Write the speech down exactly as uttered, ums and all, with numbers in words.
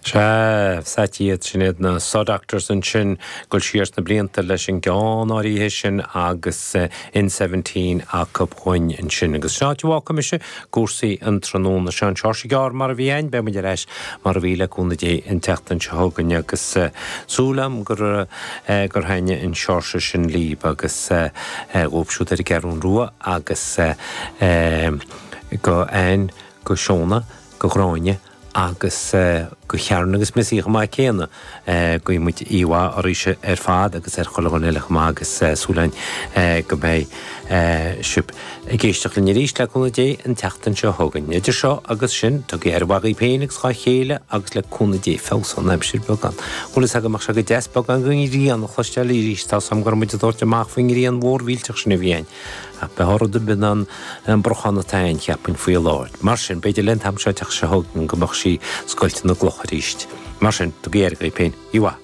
Sea, sách iad sin iad na Saw Doctors ansin ag dul siar sna blianta leis an gceann áirithe sin agus In Seventeen acu dhúinn ansin. Agus sin áit a bhfágfaidh mise cúrsaí an tráthnóna seo. An Seoirse Gearr mar a bhí ann, beidh muid ar ais mar a bhí le cúnamh Dé an tseachtain seo chugainn agus súil agam gur gur thaitnigh an Seoirse sin libh agus dhóibh siúd ar an gCeathrú Rua agus go Ann, go Shona, go Gráinne agus go Sharon agus Missy chomh maith céanna. Guíonn muid oíche mhaith oraibhse ar fad agus ar chuile dhuine eile chomh maith agus súil againn go mbeidh sibh ag éisteacht linn arís le cúnamh Dé an tseachtain seo chugainn. Idir seo agus sin, tugaigí aire mhaith dhaoibh féin agus dhá chéile agus le cúnamh Dé feabhsóidh an aimsir beagán. Bhfuil fhios agam ach sé go deas beagán den ghrian a chloisteáil arís, tá 's agam go raibh muid ag tabhairt amach faoin ngrian mhór mhillteach sin a bhí ann. Ach b'fhearr rud ar bith ná an brochan atá ann, cheapfainn, faoi láthair. Mar sin, b'fhéidir le an t-am seo an tseachtain seo chugainn go mbeadh sí ag scoilteadh na gcloch arís. Mar sin, tugaigí aire dhaoibh féin. Oíche mhaith.